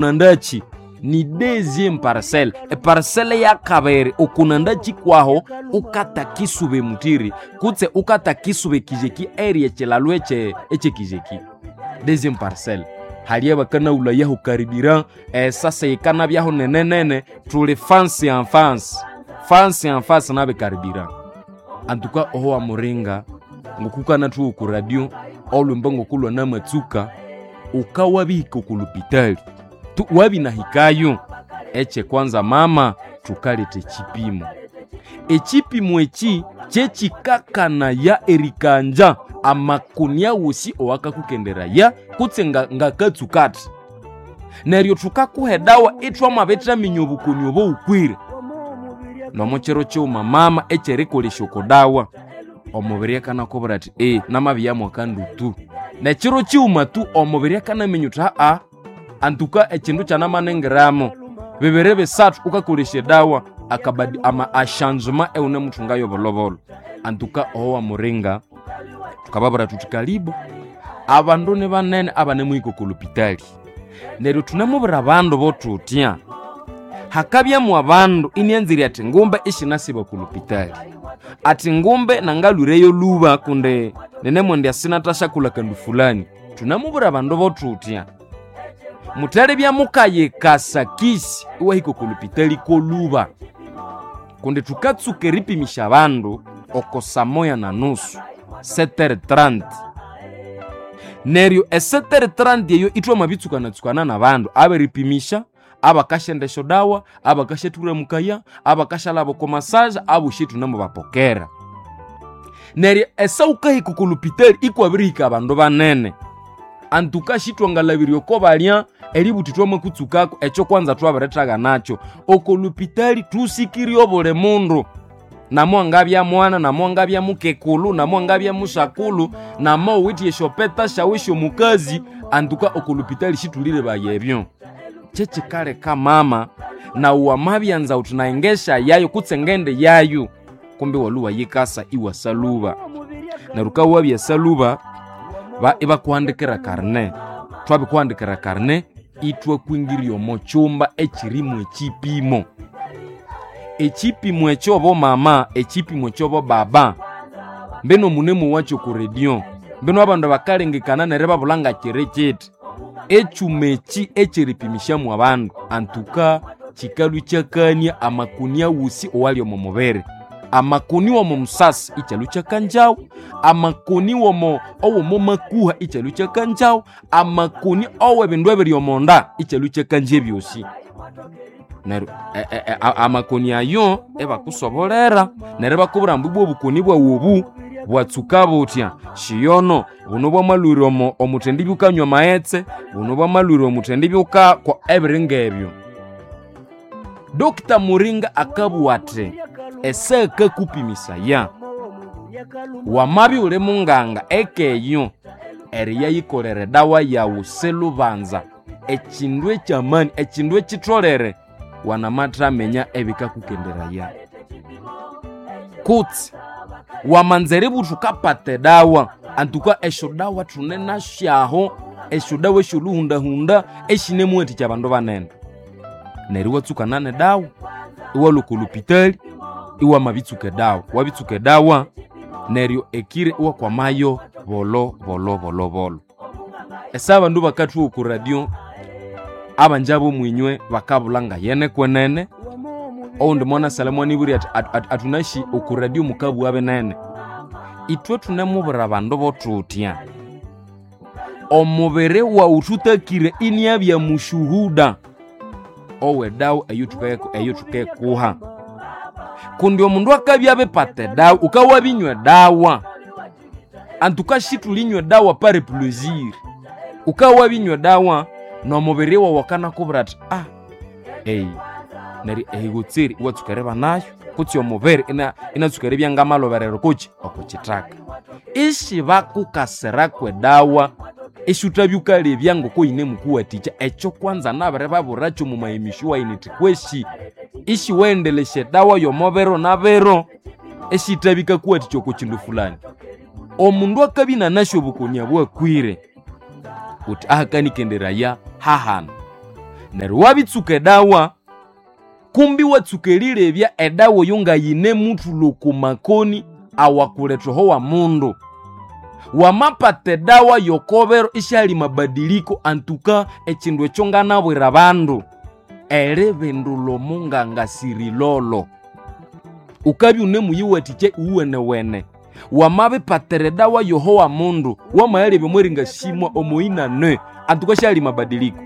Nandachi ni deuxième parcelle, eparcelle ya kabiri okunandachi kwaho ukatakisube mutiri kutse ukatakisube kijeki area ekilalhu ekyekijeki. Deuxième parcelle hali abakanaghulayahu karibira esasa yikanabyahu nenenene tuli fansi en face, fansi en face nabikaribira. Antuka oho wamuringa ngokukanathuwa oku radio olhwimbo ngokulwa namatsuka ukawabihika oku lupitali tu wabinahikayo. Ekyekwanza mama, thukaletha ekyipimo. Ekyipimo ekyi kyekikakanaya erikanja amakoni awosi owakakukenderaya kutse ngakatsuka athi. Neryo thukakuha edawa ithwamabithaminya obukoni obo wukwire. Nomo kiro kighuma mama ekyerikolesya oko dawa, omubiri akanakubwira athi namabyamu akandutu. Nekiro kighuma tu omubiri akanaminya uthi haa, antuka ekindu kyanamaningiramo. Bibiri bisathu wukakolesya edawa akabadi ama ashanzuma ewunemuthungayo bolhobolho. Antuka oho wamuringa thukababwira thuthi kalibu, abandu nibanene abanemuhika oko lupitali. Neryo thunemubwira abandu bothutya, hakabyamu abandu inianzire athi ngumbe isinasiba oko lupitali. Athi ngumbe nangalwireyo lhuba kundi ninemwendya sinathasyakula kandu fulani. Thunemubwira abandu bothutya, muthalibya mukayikasa kisi iwahika oko lupitali kolhuba. Kundi thukatsuka eripimisya abandu oko saa moya na nusu, 7:30. Neryo e 7:30 eyo ithwamabitsukanatsukana nabandu aberipimisya, abakasyenda esyodawa, abakasyathulhamukaya, abakasyalhaba oko masaja, abosi ithunemubapokera. Neryo esa wukahika oko lupitali ikwabirihika abandu banene. Antuka sithwangalhabirya oko balya eributhi thwamakutsukako, ekyo kwanza thwabirithaganakyo. Oko lupitali thusikirye obuli mundu. Namwangabya mwana, namwangabya mukekulhu, namwangabya musakulhu, namawuwithe esyopeta syawu esyomukazi, antuka oko lupitali sithulilebaya ebyo. Kyekikaleka mama nawu wamabyanza wuthi nayi ngesyayayo kutse ngendiyayo, kumbi iwalhwa iwayikasa iwasalhuba. Neryo wukabya wabyasalhuba, ibakuhandikira karne. Thwabikuhandikira karne, ithwakwingirya omo kyumba ekyirimu ekyipimo. Ekyipimo ekyo bomama, ekyipimo ekyo bobaba, mbino munemuwakyo oko radio, mbino abandu bakalengekana neryo ibabulha ngakiri kyithi. Ekyuma ekyi ekyeripimisyamu abandu antuka kyikalhwa ikyakania amakoni awosi owali omo mubiri. Amakoni womo musasi ikyalhwa ikyakanjawu, amakoni womo owomo makuha ikyalhwa ikyakanjawu, amakoni owebindu ebiri omonda ikyalhwa ikyakanja ebyosi. Neryo amakoni ayo ibakusobolera neryo ibakubwira ambu ibwa obukoni bwaghu obu bwatsuka buthya, shiyono buno bwamalhwire omo omuthendibya wukanywa amaghetse, buno bwamalhwire omuthendibya wukakwa ebiri ngebyo. Doctor Muringa akabugha athi esa akakupimisaya, wamabya iwuli munganga eka eyo eriyayikolera edawa yaghu silhubanza, ekindu ekyamani, ekindu ekyitholere, wanamathaminya ebikakukenderaya. Kutse wamanza eributha wukapata edawa, antuka esyodawa thune nasyaho, esyodawa esyolhuhundahunda esyinemuwathikya abandu banene. Neryo iwatsukana nedawa, iwalhwa oko lupitali iwamabitsuka edawa. Wabitsuka edawa, neryo ekiro iwakwamayo bolho bolho bolho bolho. Esa abandu bakathuwa oko radio, abanja bomwinywe bakabulha ngayene kwenene, owundi mwanasalha imwanibwira athi athunasi oko radio mukabugha binene. Ithwe thunemubwira abandu bothutya, omubiri waghu thutakire iniabya mushuhuda owedawa eyothukekuha. Kundi omundu akabya abipata edawa, wukawabinywa edawa, antuka sithulinywa edawa par plaisir. Wukawabinywa edawa nomubiri wawu akanakubwira athi neryo ehigotseri iwatsuka eribanayo kutse omubiri inatsuka eribya ngamalhoberera okukyi okwakithaka. Isibakukasiraku edawa isyuthabya wukalebya ngoko yinemukuwathikya. Ekyo kwanza nabiribabwirakyo omo mayimisyo wayi nithi kwesi isiwaghendelesya edawa yomo biro na biro esiyithabya yikakuwathikya oko kindu fulani. Omundu akabya inanasi obukoni obwakwire, wuthi ahakanikenderaya hahanu. Neryo wabitsuka edawa, kumbi watsuka erilebya edawa eyo ngayine muthulha oko makoni awakuletha oho wa mundu. Wamapata edawa yokobero isyahali mabadiliko antuka ekindu ekyo nganabwira abandu eribindulha omunganga sirilolo. Ukabya unemuyiwathikya iwuwenewene. Wamabipatira edawa yoho wa mundu, wamayalebya omweringa simwa omoyinane antuka syahali mabadiliko.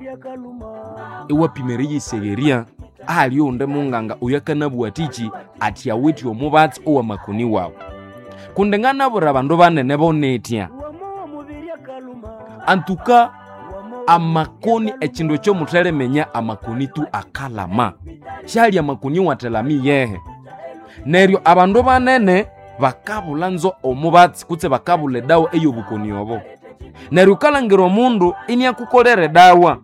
Iwapima eriyisegherya ahali owundi munganga oyo akanabugha athiki athi awithe omubatsi owamakoni wawu. Kundi nganabwira abandu banene bonetya, antuka amakoni ekindu ekyo muthaliminya amakoni tu akalama. Syahali amakoni awathalama iyehe. Neryo abandu banene bakabulha nzo omubatsi kutse bakabulha edawa ey'obukoni obo. Neryo wukalhangira omundu iniakukolera edawa,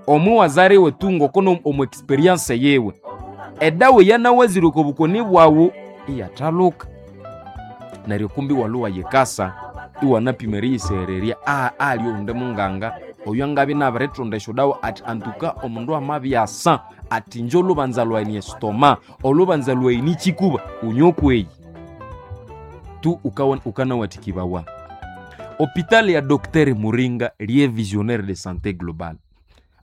omuwazariwe tu ngoko omu experience yiwe, edawa eyanawazire oko bukoni bwawu iyathaluka. Neryo kumbi iwalhwa iwayikasa iwanapima eriyiseghererya ahali owundi munganga oyo angabya inabirithunda esyodawa athi antuka omundu amabyasa athi inje olhubanza lwayi ni estoma, olhubanza lwayi ni kikuba, unywe okweyi. Tu ukanawathikibwawa. Hopitali ya Dr. Muringa liye visionnaire de santé globale.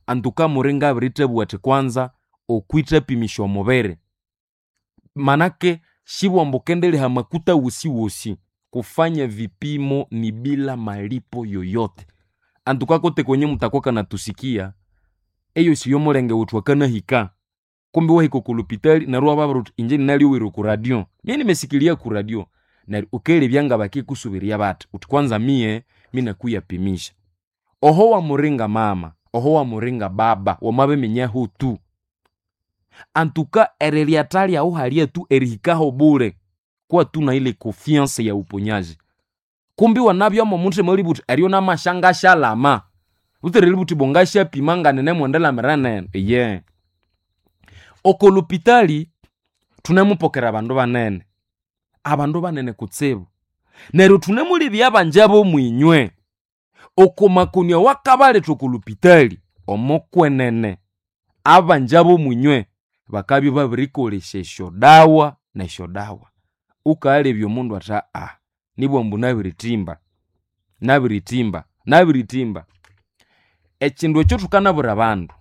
Antuka Muringa abirithebuwa athi kwanza okwithapimisya omubiri. Manake sibwamba ukendiligha amakuta wosiwosi. Kufanya vipimo ni bila malipo yoyote. Antuka kote kwenye mutakuwa kanatusikia, eyosi yomulenge wuthu akanahika. Kumbi wahika oku lupitali neryo iwababwira wuthi inje ninalyoghera oku radio. Mie nimesikilia ku radio. Neryo wukelebya ngabakikusuberya bathi, wuthi kwanza miye minakuyapimisha. Oho wamuringa mama, oho wamuringa baba, wamabiminya tu. Antuka erilhyatha lyawu halya tu erihikaho bule, kuwa tu na ile confiance ya uponyaji. Kumbi wanabya omo muthima eribugha wuthi eryo namasyangasyalama. Butsira eribugha wuthi ibwa ngasyapima nganine neno, iye. Oko lupitali thunemupokera abandu banene, abandu banene kutsibu. Neryo thunemulebya abanja b'omwinywe oko makoni awakabaletha oko lupitali, omokwenene abanja b'omwinywe bakabya ibabirikolesya esyodawa nesyodawa. Wukalebya omundu athi nibwa ambu nabirithimba, nabirithimba, nabirithimba. Ekindu ekyo thukanabwira abandu,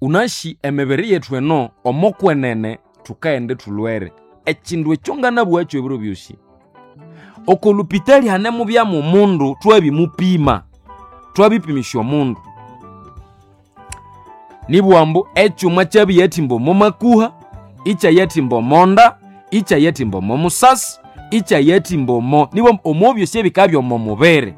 wunasi emibiri yethu eno omokwenene thukaghenda ithulhwere. Ekindu ekyo nganabugha ebiro byosi, oko lupitali hanemubyamu omundu thwabimupima, thwabipimisya omundu. Nibugha ambu ekyuma kyabiyathimba omo makuha, ikyayathimba omonda, ikyayathimba omo musasi, ikyayathimba omo nibugha ambu omo byosi ebikabya omo mubiri.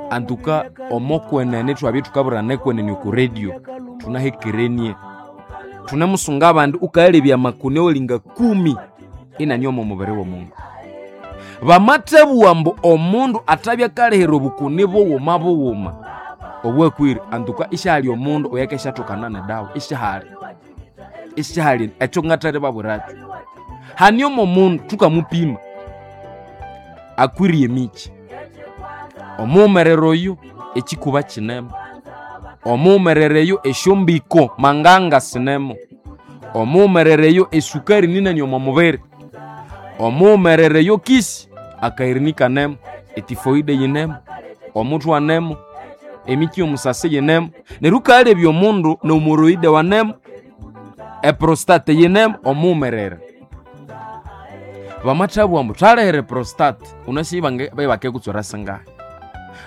Antuka omokwenene thwabya ithukabwirana ekwenene oku radio, thunahekerenie. Thunemusunga abandi wukalebya amakoni awalinga kumi inani omo mubiri w'omundu. Bamathabugha ambu omundu athabya akalihira obukoni bughuma bughuma obwakwire, antuka isyahali omundu oyukesyathokana nedawa, isyahali. Isyahali ekyo ngathalibabwirakyo. Hane omo mundu thukamupima, akwire emikyi, omughumerere oyu ekikuba kinemo, omughumerere eyo esyombiko manganga sinemo, omughumerere eyo esukari ninani omo mubiri, omughumerere eyo kisi akayirini kanemo, etifoide yinemo, omuthwe anemo, emikyi y'omusasi yinemo. Neryo wukalebya omundu n'omoroide wanemo, eprostate yinemo, omughumerere. Bamathabugha ambu thalihira eprostate, wunasi ibakikutswera singahi.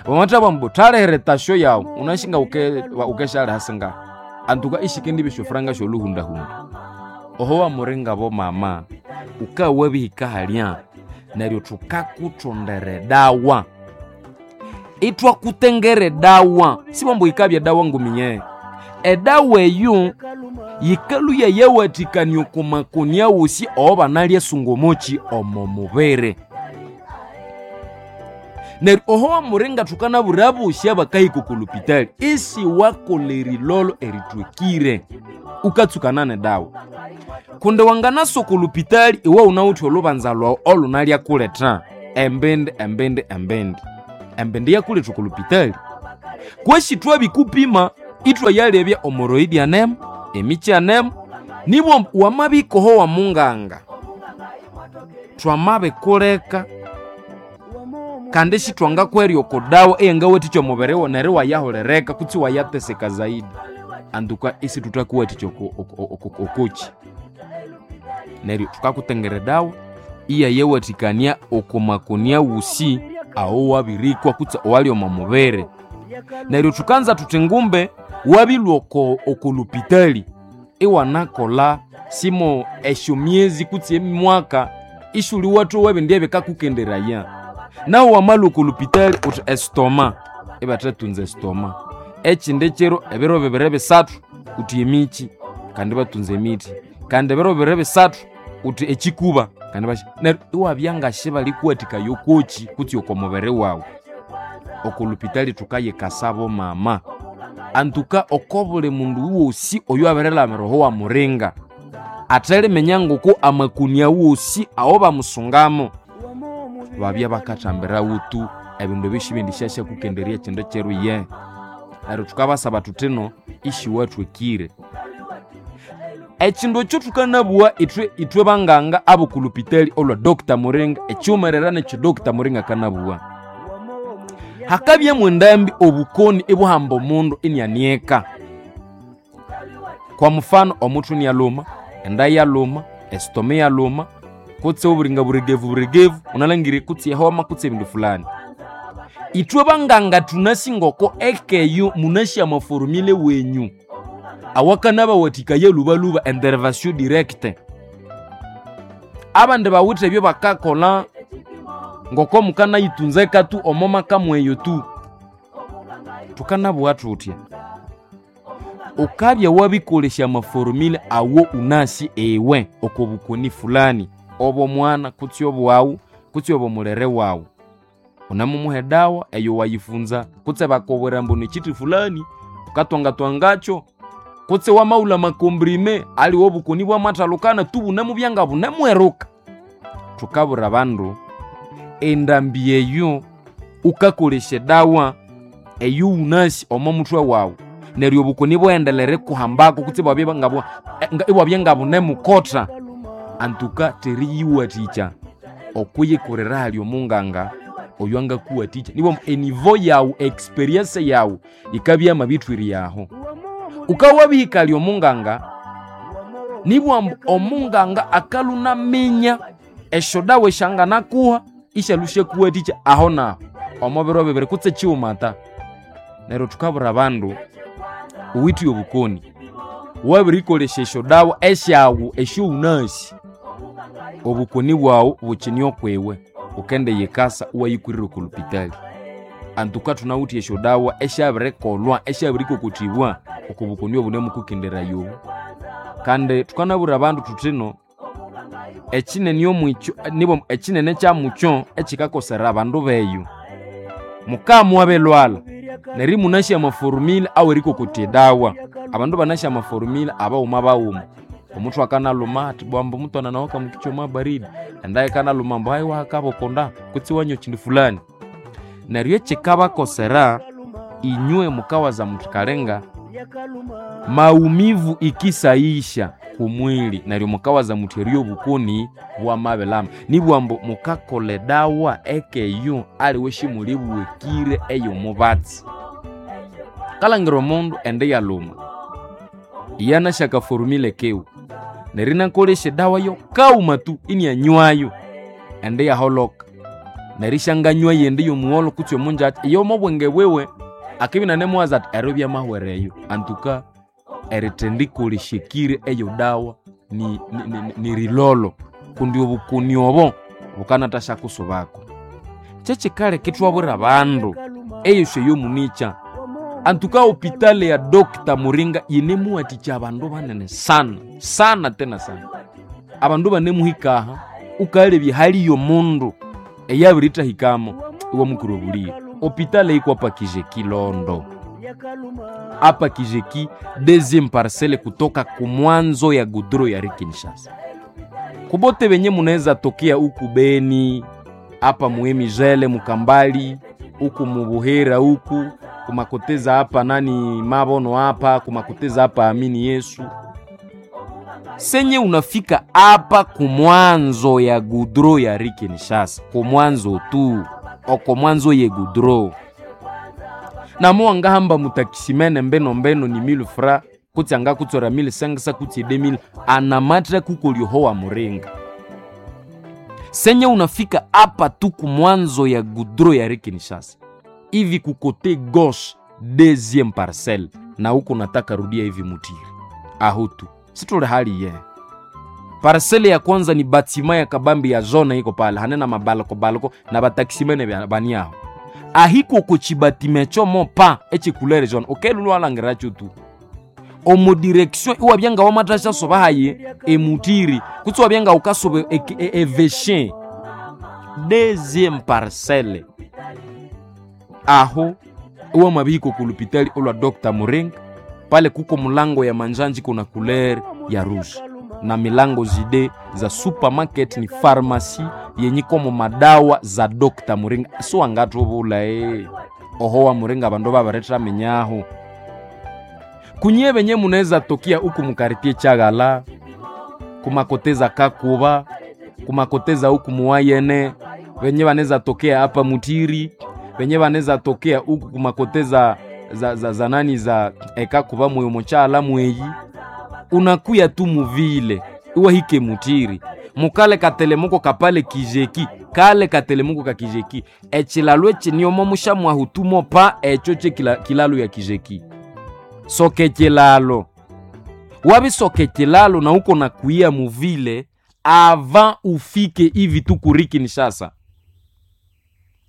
Bamathabugha ambu thalihira etasyo yawu, wunasi nga wukesyaliha singahi. Antuka isikendibya esyofuranga sy'olhuhundahunda. Oho wamuringa bomama, wukabya wabihika halya, neryo thukakuthondera edawa. Ithwakutengera edawa, sibwa ambu yikabya edawa ngumi. Edawa eyo yikalhwa yayawathikania oko makoni awosi awabanalyasunga omoki omo mubiri. Neryo oho wamuringa thukanabwira abosi abakahika oko lupitali, isiwakolha erilolho erithwekire, wukatsukana nedawa. Kundi wanganasa oko lupitali iwe wunawithe olhubanza lwawu olhunalyakuletha embindi embindi embindi. Embindi yakuletha oko lupitali. Kwesi thwabikupima Itwayalebya omoroidi anemo, emikyi anemo, nibwo wamabikoho wa munganga, twamabikuleka kandi sithwangakwerya oko dawa eyangawathikya omubiri wawu neryo iwayahulereka kutse iwayateseka zaidi. Antuka isithuthakuwathikya okokyi. Neryo thukakutengera edawa iyayawathikania oko makoni awusi awo wabirikwa kutse owali omo mubiri. Neryo thukanza thuthi ngumbe wabilhwa oko okolupitali iwanakolha simo esyomyezi kutse emwaka isiwuliwathowa ebindi ebikakukenderaya. Nawu wamalhwa oko lupitali wuthi esitoma, ibathathunza esitoma. Ekindi kiro ebiro bibiri bisathu wuthi emikyi kandi ibathunza emithi. Kandi ebiro bibiri bisathu wuthi ekikuba kandi neryo iwabya ngasibalikuwathikaya okokyi kutse oko mubiri wawu. Oko lupitali thukayikasabo mama. Antuka oko buli mundu wosi oyuwabirilhamira oho wamuringa, atheliminya ngoko amakoni awosi awo bamusungamo, babya bakathambirawo tu ebindu ebyo sibendisyakukenderya ekindu kiro iye. Neryo thukabasaba thuthino isiwathwekire. Ekindu ekyo thukanabuwa ithwe ithwe banganga ab'oku lupitali olwa Dr. Muringa, ekyiwumerera nekyo Dr. Muringa akanabuwa. Hakabyamu endambi obukoni ibuhamba omundu inianieka. Kwa mfano omuthwe inialhuma, enda iyalhuma, esitoma iyalhuma, kutse oburinga buregevu buregevu, wunalangire kutse ehoma kutse ebindu fulani. Ithwe banganga thunasi ngoko ekeyo munasi amaforumile wenyu awakanabawathikaya lhubalhuba intervention directe. Abandi bawithe ebyo bakakolha ngoko mukanayitunza tu omo maka mweyo tu. Thukanabuwa thuthya, ukabya wabikolesya amaforumile awo unasi iwe oko bukoni fulani, obw'omwana kutse obwawu kutse obw'omulere wawu, wunamumuha edawa eyo wayifunza kutse bakubwira ambu nikyiti fulani wukatwangatwangakyo, kutse wamawulha amakomprime aliwe obukoni bwamathalukana tu bunamubya nga bunemweruka. Thukabwira abandu endambi eyo wukakolesya edawa eyo wunasi omo muthwe wawu neryo obukoni bwaghendelera erikuhambako kutse ibwabya ngabunemukotha, antuka teriyiwathikya okwiyikurira hali omunganga oyo angakuwathikya. Nibwamba enivo yawu, experience yawu yikabya yamabithwirya aho. Wukabya wabihika omunganga, nibwamba omunganga akalhunaminya esyodawa esyanganakuha isyalu syakuwathikya aho naho omo biro bibiri kutse kyighuma ta. Neryo thukabwira abandu wuwithe obukoni, wabirikolesya esyodawa esyawu esyowunasi, obukoni bwawu bukine okwiwe, wukendiyikasa iwayikwirira oko lupitali. Antuka thunawithe esyodawa esyabirikolhwa esyabirikokothibwa oko bukoni obunemukukenderaya obu. Kandi thukanabwira abandu thuthino ekinene omwikyo nibwa ekinene kyamukyo ekikakosera abandu beyu, mukabya muwabilhwalha neryo imunasi amaforumile awerikokotya edawa. Abandu banasi amaforumile abaghuma baghuma. Omuthwe akanalhuma athi bwamba omutwana nawu akamukikyoma baridi, enda yikanalhuma ambu hayi wahakabokonda kutse iwanywa ekindu fulani. Neryo ekikabakosera inywe mukawaza muthi kalenga maumivu ikisaisha kumwili, neryo mukawaza muthi eryo obukoni bwamabilhama. Nibwambu mukakolha edawa ekeyo aliwe simulibughekire eyomubatsi. Kalhangira omundu enda iyalhuma, iyanasi akaforumile kiwe, neryo inakolesya edawa yo kaghuma tu inianywayo, enda iyaholoka. Neryo isyanganywa eyindi y'omugholho kutse omungyakya, iyo omo bwenge bwiwe akibya inanemuwaza athi ero byamahwera eyo. Antuka erithendikolesya eyo dawa nirilholho kundi obukoni obo bukanathasyakusubako. Kyekikaleka ithwabwira abandu eyosi eyomunikya. Antuka hopitali ya Dr. Muringa yinemuwathikya abandu banene sana sana tena sana. Abandu banemuhika aha wukalebya haliyo omundu eyabiritahikamo iwamukira obulighe. Hopitali yikwa Pakijeki Londo, apa Kijeki deuxième parcelle kutoka kumwanzo ya gudro ya Kinshasa. Kubote benye munaweza tokea huku Beni, hapa Muemijele, Mukambali, huku Mubuhera huku Kumakoteza hapa nani mabono hapa kumakoteza hapa amini Yesu. Senye unafika hapa kumwanzo ya gudro ya Kinshasa, kumwanzo tu okomwanzo ye gudro namo angahamba mutakisimene mbeno mbeno ni 1000 fra kutsi angakutsora 1500 kutsi 2000 anamatra kukolyohowa muringa. Senye unafika hapa tu kumwanzo ya gudro ya Kinshasa hivi kukote gauche deuxième parcelle, na huko nataka rudia hivi mutiri ahutu situle hali ye parcelle ya kwanza ni batima ya kabambi ya zone iko pale hanena mabalko balko na batakisimene baniaho ahiko kuchibatime chomo pa echikulere zone okelulu alangiracho tu omu direction iwabyanga wamatasha soba haye emutiri kutsi wabyanga ukasobe eveshin deuxième parcelle aho uwa mabiko kulupitali olwa Dr. Muringa pale kuko mulango ya manjanji kuna couleur ya rouge na milango zide za supermarket ni pharmacy yenye komo madawa za Dr. Muringa so angatubula oho wa Muringa bandu babaretera menyaho kunye benye munaweza tokia huku mukaritie Chagala kumakoteza Kakuba kumakoteza huku muwayene benye banaweza tokea hapa Mutiri benye banaweza tokea huku kumakoteza za nani za ekakuba mweyo muchala mweyi unakuya tu muvile iwa hike mutiri mukale katelemuko kapale kijeki kale katelemuko ka kijeki echilalo echiniomo mushamwahutumo pa echo che kilalo ya kijeki soke kilalo wabisoke kilalo na uko na kuia muvile avant ufike hivi tu kuri Kinshasa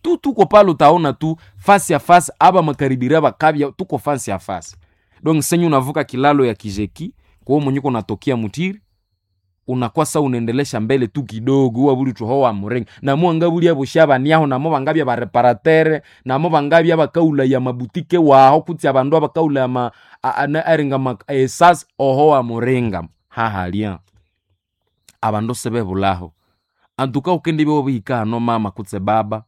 tu tuko pale utaona tu fasi ya fasi aba makaribira bakabya tuko fasi ya fasi donc senyu unavuka kilalo ya kijeki kwa mwenye unatokea mutiri unakwasa unaendelesha mbele tu kidogo uwa buli tuhowa murenga namo anga buli abo shabaniaho namo bangabya bareparatere namo bangabya bakaula ya mabutike waho kutsi abandu abakaula ya ma aringa ma esas ohowa murenga hahalia abandu sebebulaho antuka ukende byo bihika hano mama kutse baba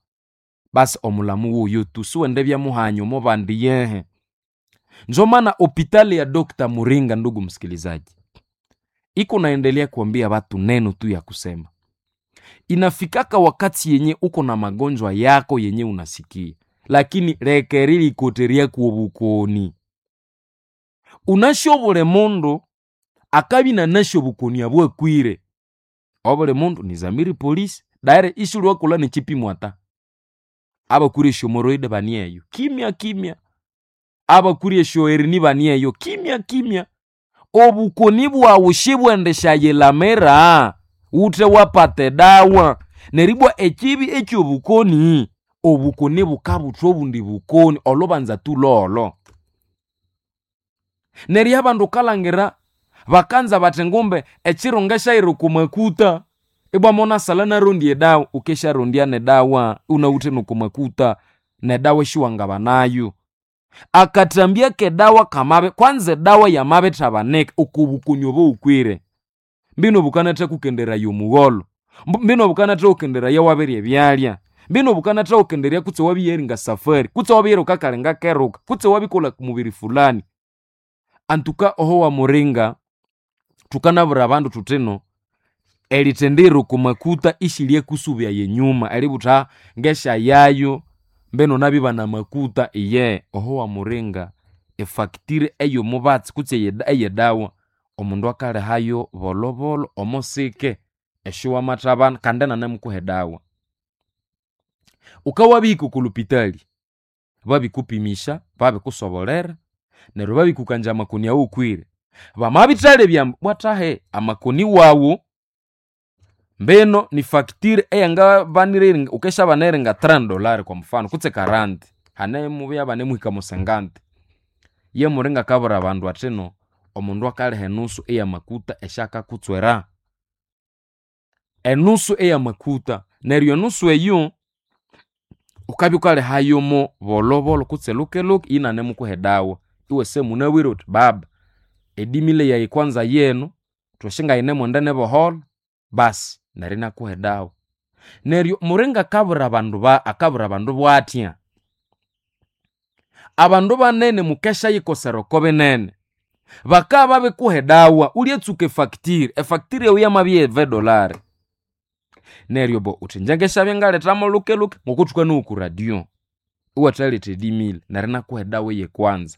basi omulamu wuyo tu siwende byamuhanyo mubandi yehe njo maana hopitali ya Dr. Muringa, ndugu msikilizaji, iko naendelea kuambia watu neno tu ya kusema. Inafikaka wakati yenye uko na magonjwa yako yenye unasikia, lakini rekerili koteria kuobukoni unashobole mundu akabi na nasho bukoni abwakwire obole mundu ni zamiri polisi daire ishuli ni chipimo ata abakuri shomoroide banieyo kimya kimya abakuri eshoerini banieyo kimya kimya obukoni bwawu shibwendeshayilamira ute wapate dawa neribwa ekibi ekyobukoni obukoni bukabuthwa obundi bukoni olubanza tulolo neryo abandu ukalangira bakanza bathi ngumbe echirunga shairi kumakuta ibwa monasala narondi edawa ukesharondya nedawa unawuthe nokumakuta nedawa eshiwangaba nayo akatambya kedawa kamabe kwanza edawa yamabethabaneka okubukoni obo ukwire mbino bukanatha kukenderaya omugholo mbino bukanatha kukenderaya wabirya ebyalya mbino bukanatha kukenderya kutse wabiyeringa safari kutse wabiyeruka kalinga keruka kutse wabikolha mubiri fulani antuka oho wa muringa tukanabura abandu thuthino erithendero kumakuta ishilye kusubya yenyuma eributha ngesha yayo mbeno nabiba na makuta iye oho wa muringa efactire eyomubatsi kutse eyedawa omundu akalihayo bolobolo omosike eshiwamathabana kandi nanamukuha edawa ukawabihika okulupitali babikupimisha babikusobolera neryo babikukanja amakoni awo ukwire bamabithalebya bwathahe amakoni wawu mbeno ni facture eyangabanire ukeshabanere nga $30 kwa mfano kutse 40 hane mubya bane muhika mu 50 ye muringa kabura abandu athino omundu akaliha enusu eyamakuta eshakakutswera enusu eyamakuta neryo enusu eyo ukabya ukalihayomo bolobolo kutse lukeluke inanemukuha edawa iwe semunabwire uthi baba edimile yayi kwanza yenu thwashinga mwenda nebohola basi neryo inakuha edawa neryo muringa akabura abandu ba akabura abandu bwathya Abandu banene mukeshayikosera oko binene. Bakabya babikuha edawa, ulyatsuka efacture, efacture eyo yamabya ye $20. Neryo bo uthi ingye ngesyabya ngalethamo luke-luke ngokuthuka nowa oku radio, iwathaletha e 10,000 neryo inakuha edawa eyekwanza.